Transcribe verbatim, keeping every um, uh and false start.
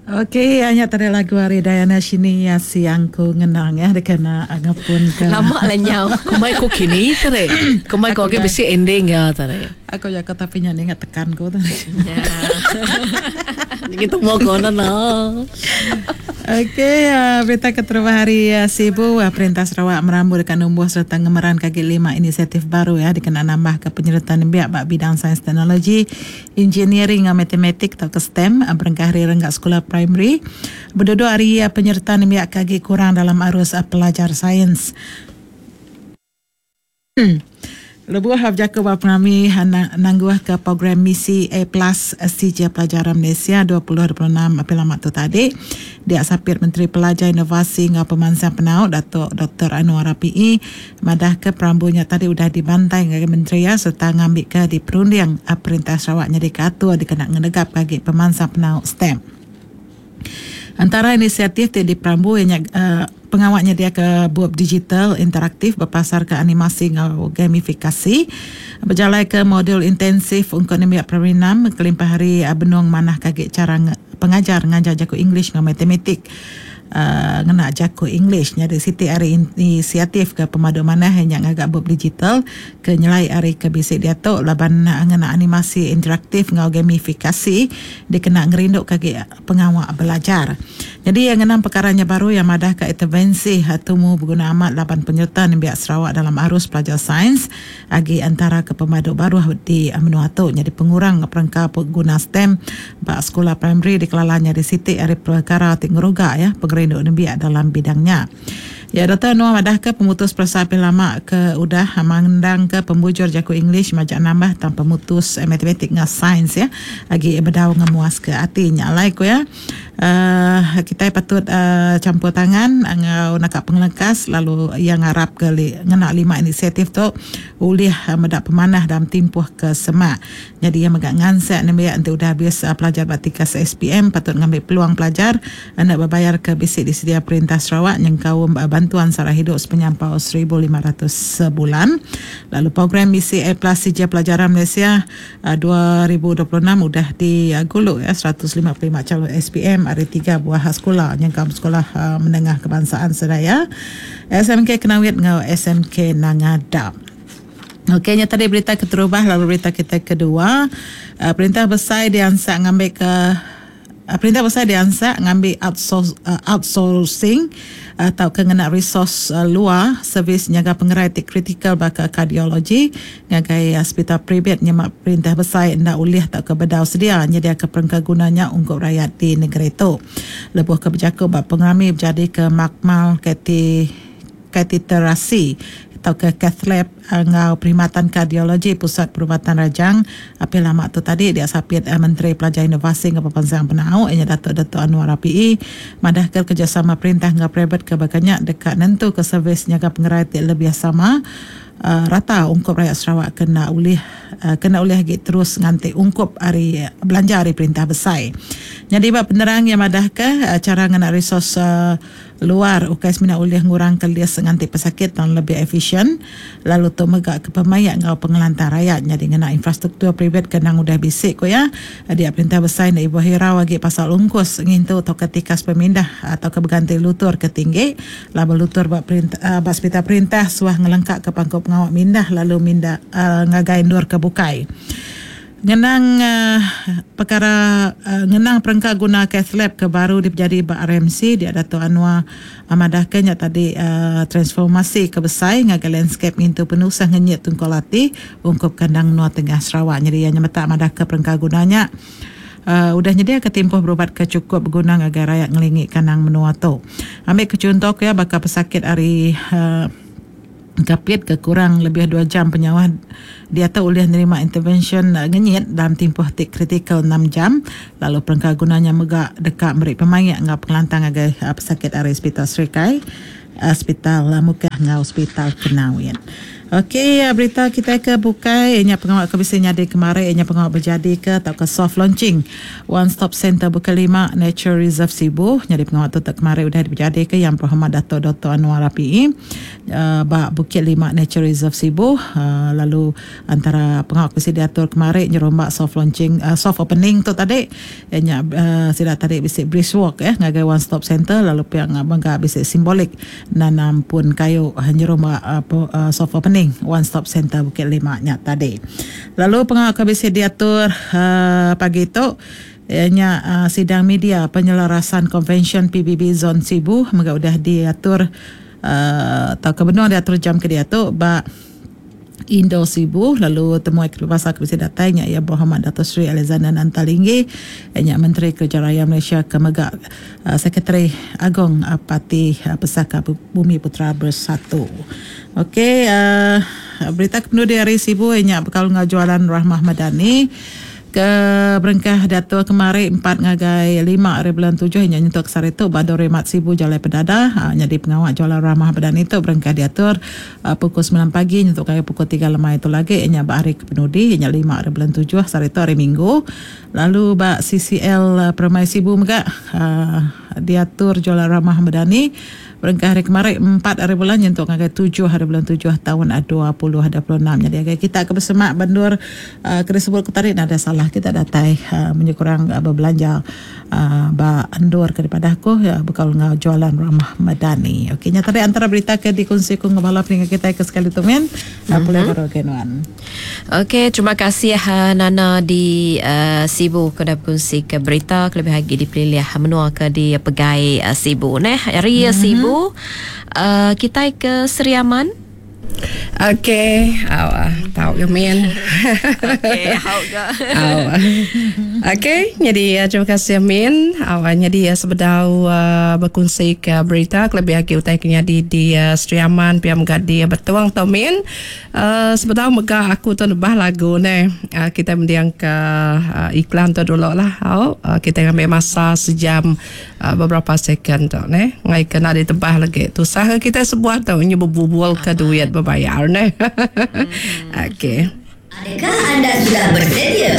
Okey, nya tadi lagu ari Diana Shini ya Siang Ku Ngenang ya dikena ngepun ke lama lah nyau. Kumai ku kini tadi. Kumai ku agi bisi ending ya tadi. Aku jaga tapi nya ingat tekan ku tadi. Ya. Kita mau kono no. Okey, uh, berita keterubah hari uh, Sibu, uh, Perintah Sarawak merambu dekat numbuh serta ngemeran kaki lima inisiatif baru ya dikena nambah ke penyertaan nembiak bak bidang sains teknologi, engineering dan matematik atau ke STEM uh, berengkah hari renggak sekolah primary. Berduduk hari uh, penyertaan nembiak kaki kurang dalam arus uh, pelajar sains. Hmm. Lebuh berjaku ba penami nangguh ke program misi A Plus C J Pelajaran Malaysia dua ribu dua puluh enam apil lama tu tadi. Dia sapir Menteri Pelajar Inovasi ngau Pemansang Penau Datuk Doktor Annuar Rapaee madah ke perambunya tadi udah dibantai ngagai menteri ya serta ngambil ke di perunding Perintah Sarawak nyadi ke atur dikena ngenegap bagi pemansang penau STEM. Antara inisiatif ti diperambu ianya uh, pengawalnya dia ke bup digital interaktif berpasar ke animasi ngau gamifikasi berjalai ke modul intensif untuk nembiak perinam kelimpah hari benung manah kagik cara pengajar ngajar jaku English ngau matematik uh, ngena jaku English nyadi siti hari inisiatif ke pemadu manah yang ngagak bup digital ke nyelai hari ke bisik dia tu laban ngena animasi interaktif ngau gamifikasi dikena ngerinduk kagik pengawal belajar. Jadi yang enam perkaranya baru yang madah ke intervensi tumu berguna amat laban penyerta nembiak Sarawak dalam arus pelajar sains agi antara ke pemadu baru di menua tu jadi pengurang perengka pengguna STEM bak sekolah primary dikelalanya di siti hari perkara ti ngeruga ya pengerindu nembiak dalam bidangnya. Ya Doktor Annuar madah ke pemutus perasa apil lama ke udah mengundang ke pembujur jaku English majak nambah tanpa pemutus eh, matematik ngah sains ya agi bedau ngemuas ke ati nya alai ku ya. Uh, kita patut uh, campur tangan ngau nakak pengelengkas lalu yang ngarap ke li, ngena lima inisiatif tu ulih uh, medak pemanah dalam timpuh ke semak. Jadi yang megak ngansek nembiak nanti udah habis uh, pelajar batikas S P M patut ngambil peluang pelajar nak berbayar ke bisik disedia Perintah Sarawak yang kaum uh, bantuan sara hidup sepenyampau seribu lima ratus sebulan. Lalu program misi A Plus C J Pelajaran Malaysia uh, dua ribu dua puluh enam udah diguluk ya seratus lima puluh lima calon S P M hari tiga buah sekolah yang kaum sekolah uh, menengah kebangsaan sedaya S M K Kenawit ngau S M K Nangadap. Okey, nya tadi berita keterubah lalu berita kita kedua uh, perintah besar diansak ngambil ke uh, perintah besar diansak ngambil outsource, uh, outsourcing atau ke ngena resource uh, luar servis nyaga pengerai ti kritikal baka kardiologi ngagai hospital private nyemak perintah besar ndak ulih tak ke bedau sedia nyedia ke perengka gunanya ungkup rakyat di negeri tu. Lebuh ke berjaku bab pengerami berjadi ke makmal kati kateterasi atau ke cath lab ngau perkhidmatan kardiologi Pusat Perubatan Rajang apil lama tu tadi dia sapit eh, Menteri Pelajar Inovasi ngau Pemansang Penau ianya Datuk Datuk Annuar Rapaee madah ke kerjasama perintah ngau private ke bakanya dekat nentu ke servis nyaga pengerai ti lebih sama uh, rata ungkup rakyat Sarawak kena ulih uh, kena ulih lagi terus nganti ungkup hari belanja hari perintah besar. Jadi bab penerang yang madah ke uh, cara ngena resource uh, luar ukai semina ulih ngurang ke lias nganti pesakit dan lebih efisien lalu tu megak ke pemayak ngau pengelantar rakyat jadi ngena infrastruktur private kenang udah bisik ko ya dia perintah besar nak ibu hirau lagi pasal ungkus ngintu atau ketikas pemindah atau ke berganti lutur ke tinggi lalu lutur bab perintah uh, bab hospital perintah suah ngelengkak ke pangkop pengawak mindah lalu mindah uh, ngagai ndur ke bukai. Ngenang uh, perkara uh, ngenang perengka guna cath lab ke baru dijadi ba R M C dia Datuk Annuar amadah ke nya tadi uh, transformasi ke besai ngagai landscape ngintu penusah ngenyit tungkol ati ungkup kandang Nuar Tengah Sarawak. Jadi yang nyemetak madah ke perengka gunanya uh, udah nyedia ke timpuh berubat ke cukup berguna ngagai rakyat ngelingi kandang menua tu. Ambil ke contoh ke ya bakal pesakit hari uh, kapit ke kurang lebih dua jam penyawah dia tahu boleh nerima intervention uh, ngenyit dalam tempoh tik kritikal enam jam lalu perengka gunanya megak dekat merik pemayak ngau pengelantang agai uh, pesakit area hospital Serikai, hospital uh, Mukah ngau hospital Kenawit. Okey, berita kita ke bukai nya pengawal ke bisi nyadi kemari nya pengawal berjadi ke atau ke soft launching One Stop Center Bukit Lima Nature Reserve Sibu. Jadi pengawal tu tak kemari udah berjadi ke Yang Berhormat Dato' Doktor Annuar Rapaee uh, ba Bukit Lima Nature Reserve Sibu. Uh, lalu antara pengawal bisi diatur kemari nyerombak soft launching uh, soft opening tu tadi nya uh, sida tadi bisi brisk walk eh ngagai One Stop Center lalu pihak mega bisi simbolik nanam pun kayu nyerombak uh, uh, soft opening One Stop Center Bukit Lima nya tadi. Lalu pengawal ke bisi diatur uh, pagi tu ianya uh, sidang media penyelarasan Konvensyen P B B Zon Sibu mega udah diatur uh, atau kebenar diatur jam ke diatur ba Indo Sibu lalu temuai kebebasan ke bisi datai nya ya Berhormat Dato' Sri Alexander Nanta Linggi nya Menteri Kerja Raya Malaysia ke mega uh, Sekretari Agong uh, Parti uh, Pesaka Bumi Putera Bersatu. Okey, uh, berita kepenudi hari Sibu nya bekal ngau jualan Rahmah Madani ke berengkah datur kemari empat ngagai lima hari bulan tujuh nya nyentuk sehari tu ba Remat Sibu Jalai Pedada ha, jadi pengawal jualan Rahmah Madani tu berengkah diatur uh, pukul sembilan pagi nyentuk kaya pukul tiga lemai itu lagi nya ba hari kepenudi nya lima hari bulan tujuh sehari tu hari Minggu. Lalu ba C C L Permai Sibu mega uh, diatur jualan Rahmah Madani berengkah hari kemarin empat hari bulan nyentuk ngagai tujuh hari bulan tujuh tahun dua puluh dua puluh enam. Jadi agak kita ke bersemak bandur uh, kena sebut ke tarik ada salah kita datai uh, menyekurang uh, berbelanja uh, ba andur daripada aku ya bekal ngau jualan Rahmah Madani. Okey nya tadi antara berita ke dikongsi ku ngabala peninga kita ke sekali tu men. Mm-hmm. Boleh baru kenuan. Okey, terima kasih uh, Nana di uh, Sibu ke dah berkongsi ke berita kelebih lagi di pelilih menua ke di Pegai uh, Sibu neh. Hari mm-hmm. Sibu Uh, kita ke Seri Aman. Okey, awak tahu ke min. Okey, hau ke. Okey, jadi terima kasih Min. Awak jadi sebedau uh, berkongsi ke berita kelebih lagi utai kenya di di uh, Seri Aman piam gadi betuang tau Min. Uh, sebedau mega aku tu nebah lagu ne. Uh, kita mendiang ke uh, iklan tu dulu lah. Au, uh, kita ambil masa sejam uh, beberapa second tu ne. Ngai kena ditebah lagi. Tusah kita sebuah tu nyu berbubul ke duit berbayar ne. Okey. Adakah anda sudah bersedia